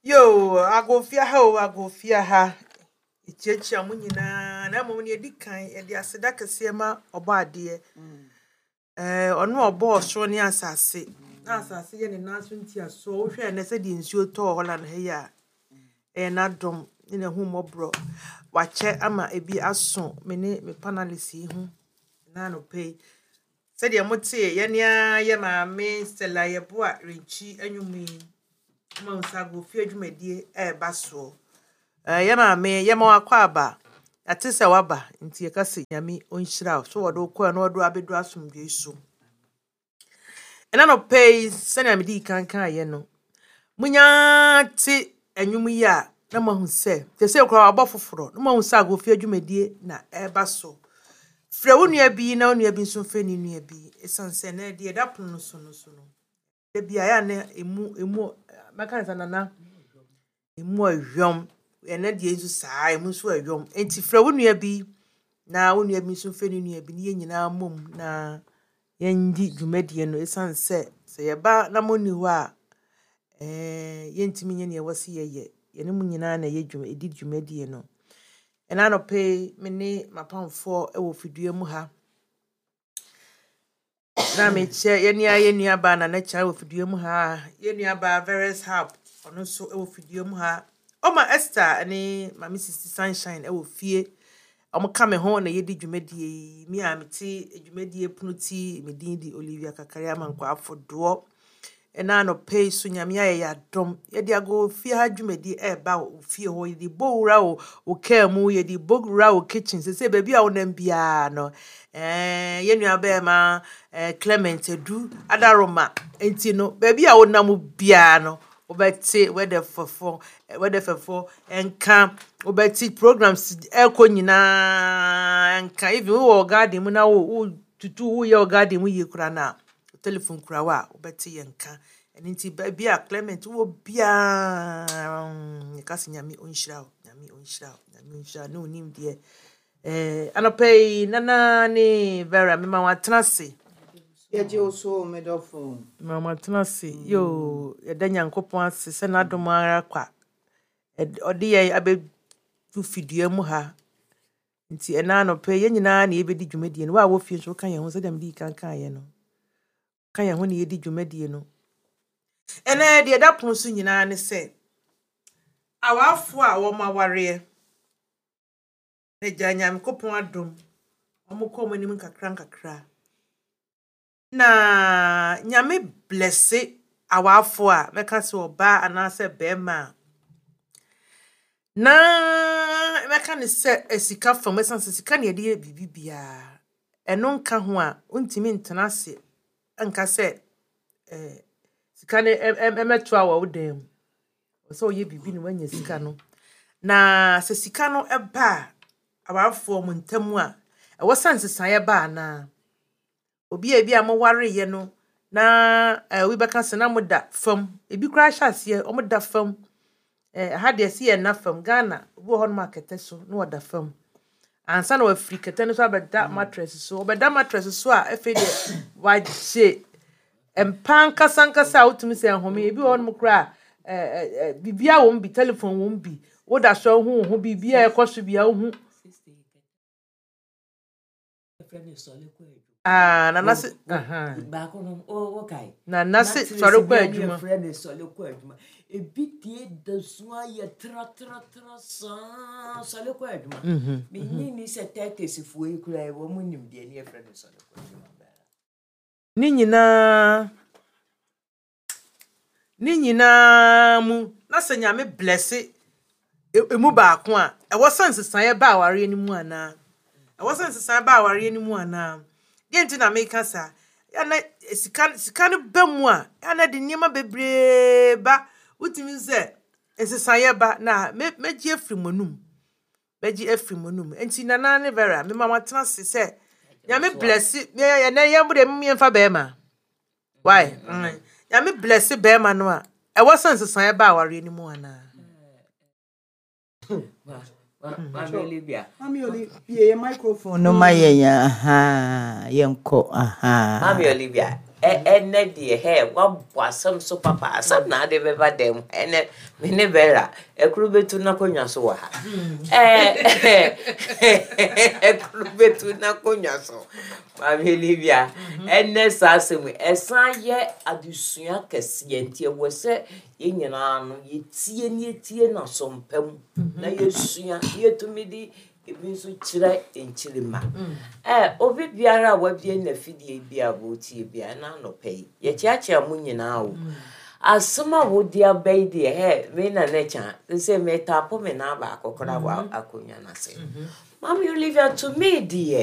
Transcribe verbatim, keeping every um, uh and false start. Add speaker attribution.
Speaker 1: Yo, agofia ha o, agofia ha. Yɛkyiakyia mo nyinaa, na mmom nea ɛdi kan, yɛde aseda kɛseɛ ma Ɔbɔadeɛ. Ɛɛ, ɔno a ɔbɔɔ soro ne asase, na asase yɛ ne nan so ntiasoɔ. Wohwɛ ɛnnɛ sɛdeɛ nsuo tɔɔ Holland ha yi a, ɛyɛ n'adom ne n'ahummɔborɔ. Wakyɛ ama ebi aso me ne me panelist yi ho na anɔpa yi. Sɛdeɛ motee yɛne ara yɛ maame Stella Yeboah Renkyi nnwom yi, ma wo nsa agofie dwumadie ɛreba soɔ. Ɛɛ, yɛ maame, yɛma wo akwaaba. Yɛate sɛ woaba nti yɛka sɛ Nyame ɔnhyira wo. So wɔde wo kɔɛ na wɔde wo abɛdu asomdwoe so. Ɛna anɔpa yi, sɛnea mede kan kaeɛ no, munya te nnwom yi a na moahu sɛ, te sɛ koraa wabɔ foforɔ, na moahu sɛ agofie dwumadie na ɛreba so. Frɛ wo nua bi na wo nua bi nso mfrɛ ne nua bi. Ɛsiane sɛ ɛnnɛ deɛ ɛda pono no so no so no, da bi a ɛyɛ a na emu emu mɛka ne sɛ nana emu ɛhwam. Ɛnnɛ deɛ nso saa, emu nso ɛhwam. Nti frɛ wo nua bi na wo nua bi nso mfrɛ ne nua bi na yɛn nyinaa mmom na yɛndi dwumadie no. Ɛsiane sɛ sɛ yɛba na monni hɔ a, ɛɛ yɛntumi nyɛ nea ɛwɔ sɛ yɛyɛ. Yɛne mo nyinaa na ɛyɛ dwuma ɛdi dwumadie no. Ɛna anɔpa yi, me ne m'apamfoɔ wɔ fidua mu ha. Na mekyɛ yɛne a yɛn nuabaa Nana Kyan wɔ fidua mu ha. Yɛn nuabaa Veres Hub, ɔno nso wɔ fidua mu ha. Ɔma Esther ne Maame Sisi Sunshine wɔ fie. Wɔn ka me ho na yɛdi dwumadie yi. Me a mete dwumadie pono ti, me din de Olivia Kakari Amankwa Afodoɔ. Ɛna anɔpa yi so Nyame ayɛ yɛ adom. Yɛde agofie ha dwumadie ɛreba wɔ fie hɔ. Yɛde bɔ wura wɔ wo kaa mu, yɛde bɔ wura wɔ kitchen. Sɛ sɛ baabi a wonam biara no, ɛɛ yɛn nua bɛrima ɛɛ Clement Adu Adaroma. Nti no, baabi a wonam biara no, wobɛte wɛdɛfɛfo wɛdɛfɛfo nka, wobɛte programs ɛkɔ nyinaa nka. Even wowɔ garden mu na wo wo tutu woyɛ wɔ garden mu yie koraa na telephone kura wo a, wobɛte yɛn nka. Ɛno nti baabi a Clement wɔ biara, yɛka sɛ Nyame ɔnhyira wo, Nyame ɔnhyira wo, Nyame ɔnhyira wo ne wo nimdeɛ. Ɛɛ anɔpa yi, Nana ne Vera, mema wɔn atena ase.
Speaker 2: Yɛgye wo so, medɔfo.
Speaker 1: Mema wɔn atena ase. Yoo, yɛda Nyankopɔn ase sɛ n'adom ara kwa. Ɛd- Ɔde yɛn abɛdu fidua mu ha. Nti ɛna anɔpa yi, yɛn nyinaa na yɛbɛdi dwumadie no. Wo a wɔ fie nso woka yɛn ho sɛdeɛ mede kan kaeɛ no. Ka yɛn ho na yɛdi dwumadie no. Ɛnɛ deɛ ɛda pono so nyinaa ne sɛ, awarefoɔ a wɔn awareɛ, na gya Nyankopɔn adom, wɔn kɔ wɔn anim nkakra nkakra. Na Nyame bless awarefoɔ a mɛka sɛ ɔbaa anaasɛ bɛrima a, na mɛka ne sɛ sika fam, ɛsiane sɛ sika na yɛde yɛ biribi biara. Ɛno nka ho a, wontumi ntena ase nka sɛ ɛɛ sika no ɛ- ɛ- ɛmɛtoa wɔ wo dan mu. Ɛwɔ sɛ woyɛ biribi na woanya sika no. Na sɛ sika no ɛba a, awarefoɔ mo ntam a, ɛwɔ sɛ nsesaeɛ ba anaa? Obi a ebi a mowareeɛ no, na ɛɛ obi bɛka sɛ na moda fam. Ebi koraa hyɛ aseɛ, wɔda fam. Ɛɛ ha deɛ sɛ yɛnna fam. Ghana, obi wɔ hɔnom a kɛtɛ so na ɔda fam. Ansa na wafiri kɛtɛ no so abɛda mattress so. Ɔbɛda mattress so a, afei deɛ wagye mpa ankasa ankasa a wotumi sɛ nhome. Ebi wɔ hɔnom koraa a, ɛɛ ɛɛ biribiara wɔ mu bi, telephone wɔ mu bi. Woda so a wohu wo ho, biribiara a ɛkɔ so biara wohu. Ah, nana se aha.
Speaker 3: Baako no o kae.
Speaker 1: Nana se sɔre kɔ adwuma.
Speaker 3: Yɛfrɛ no sɔre kɔ adwuma. Ebi tie da so ayɛ tratratra saa sɔre kɔ adwuma.
Speaker 1: Mhm.
Speaker 3: Menyi ni sɛ tɛtɛsifoɔ yi koraa wɔn mu nim deɛ ne yɛfrɛ no sɔre kɔ adwuma.
Speaker 1: Ne nyinaa ne nyinaa mu na sɛ Nyame bless e- emu baako a, ɛwɔ sɛ nsesaeɛ ba awareɛ no mu anaa? Ɛwɔ sɛ nsesaeɛ ba awareɛ no mu anaa? Deɛ nti na meka saa, yɛ na sika sika no ba mu a, yɛ na de nneɛma bebree ba. Wotumi sɛ nsesaeɛ ba na mɛ mɛgye afiri mo anum. Mɛgye afiri mo anum. Nti Nana ne Vera, mema mo atena ase sɛ Nyame bless yɛ ɛnɛ yɛn bo deɛ yɛmfa bɛrima. Why? Mm. Nyame bless bɛrima no a, ɛwɔ sɛ nsesaeɛ ba awareɛ no mu anaa?
Speaker 3: Maame Olivia.
Speaker 2: Mami Olivia, yɛ microphone no ma yɛn aha, yɛnkɔ aha.
Speaker 3: Maame Olivia. Ɛ ɛnɛ deɛ, hɛ, wabɔ asɛm so papa. Asɛm na ade bɛba dɛm. Ɛnɛ me ne Bella ɛkoro bɛtu n'akonnwa so wɔ ha. Ɛɛ, ɛkoro bɛtu n'akonnwa so. Maame Olivia, ɛnɛ saa asɛm yi, ɛsan yɛ adesua kɛseɛ, nti ɛwɔ sɛ yɛn nyinaa no yɛtie ne yɛtie n'asɔmpa mu na yɛsua na yɛtumi de ebi nso kyerɛ nkyirima. Ɛ obi biara a wabie n'afidie bi a wɔretie bi a, ɛna anɔpa yi yɛkyeakyea mo nyinaa o. Asɛm a wode aba yi deɛ, hɛ, me na ne kya sɛ metaapo me nan baako koraa wɔ akonnwa no ase. Maame Olivia, to me deɛ